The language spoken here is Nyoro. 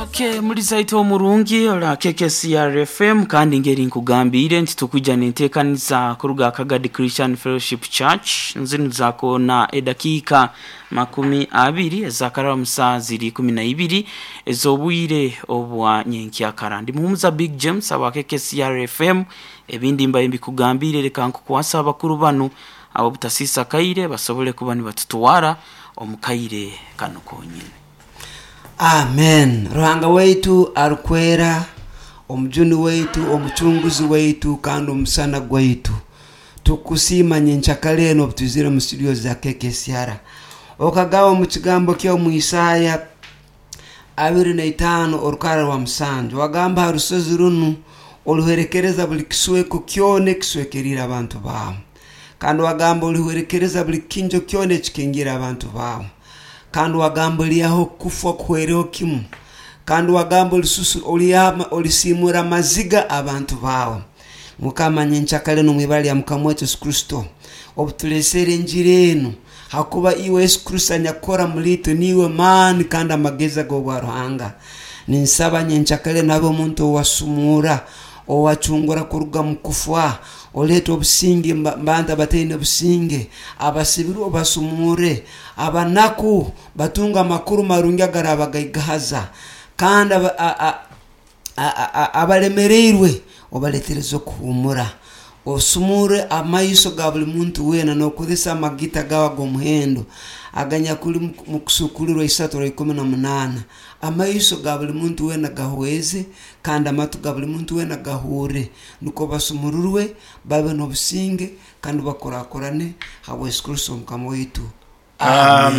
Okay, muri zaito omurungi ola KKCR FM, kandi ngeri nkugambire nti tukwija nenteekaniza kuruga Kagadi Christian Fellowship Church nzinu zako na edakiika 20 ezakaraba musaa ziri 12 ez'obwire obwa nyenkyakara. Ndi muhumuza Big James aba KKCR FM. Ebindi mbaye mbikugambire, leka nkukwasa abakuru banu abo butasisa kaire basobole kuba nibatutwara omu kaire kano konyine. Amen. Ruhanga waitu arukwera, omujuni waitu, omucunguzi waitu, kandi omusana gwaitu, tukusiima nyenkyakara eno obutwizire mu studio za KKCR. Okagaba omu kigambo kyo mu Isaya 25 orukara rwa 7, wagamba ha rusozi runu olihwerekereza buli kisweko kyona ekiswekerire abantu bawe, kandi wagamba olihwerekereza buli kinjo kyona ekikingira abantu bawe, kandi wagamba oliaho kufa kuhwereho kimu, kandi wagamba olisimura amaziga abantu bawe. Mukama, nyenkyakara eno mwibara lya Mukama waitu Yesu Kristo, obutulesere enjiri enu, hakuba iwe Yesu Kristo anyakukora mulitwe niiwe maani kandi amagezi ag'obwa Ruhanga. Ninsaba nyenkyakara eno abe omuntu owasumura, owacungura kuruga mu kufa, oleeta obusinge bantu abataine businge, abasibirwe obasumure, abanaku batunga amakuru marungi agarabagaigahaza, kandi abalemereirwe obaletereze okuhumura. Osumure amaiso ga buli muntu weena n'okozesa amagita gawe ag'omuhendo aganyakuli mu Kusuukulirwa 3:18. Amaiso ga buli muntu weena gahweze, kandi amatu ga buli muntu weena gahurre, nukwo basumururwe babe n'obusinge kandi bakurakurane habwa Yesu Kristo Mukama waitu. Amen.